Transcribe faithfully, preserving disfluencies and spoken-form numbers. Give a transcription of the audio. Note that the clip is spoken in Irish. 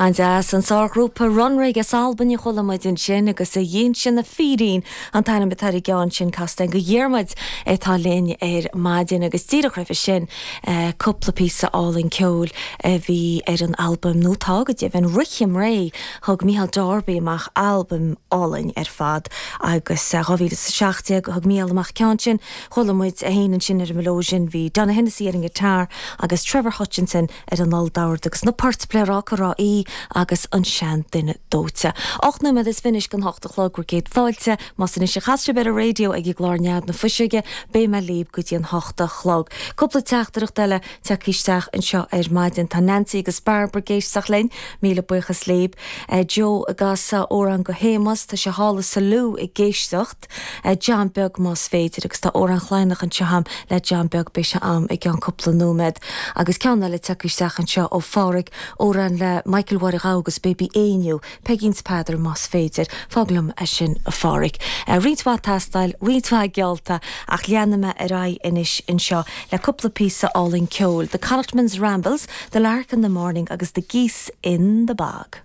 An-deas an sárghrúpa Runrig as Albain a chuala muid ansin agus a dhíon na fírín an t-ainm atá ar an gceann sin casta go Dhiarmuid atá linn ar maidin agus díreach roimhe sin cúpla píosa álainn ceoil a bhí ar an albam nó tá go deimhin Rithim Réidh thug Micheál Darby amach albam álainn ar fad agus dhá mhíle is a seacht déag thug Micheál amach ceann sin chuala muid é féin ansin ar an melodeon bhí Donogh Hennessy ar an guitar agus Trevor Hutchinson ar an olldord agus na poirt Pléaráca Ráth Í agus an seanduine dóite. Och nóiméad is fiche don hocht a chlog bhur gcéad fáilte, más anois a chas sibh ar an raidió ag an gclár Nead na Fuiseoige, beidh mé libh go dtí an hocht a chlog. Cúpla teachtaireacht eile tagtha isteach anseo ar maidin tá Nancy agus Barbara ag éisteacht linn, míle buíochas libh. Eh, Joe ag casadh amhrán go Shéamus, tá sé thall i Salú ag éisteacht, eh, John Beag más féidir agus tá amhrán Laighneach anseo agam le John Beag beidh sé agam i gceann cúpla nóiméad. Agus ceann eile tagtha isteach anseo ó Pháraic amhrán le Michael Mháire Ghabha agus Baby Éinniú, Peigín 's Peadar más féidir, fág liom é sin a Pháraic. Uh, roinnt mhaith tástáil, roinnt mhaith geallta ach leanfaidh mé ar aghaidh anois anseo le cúpla píosa álainn ceoil. The Connachtman's Rambles, The Lark in the Morning agus The Geese in the Bog.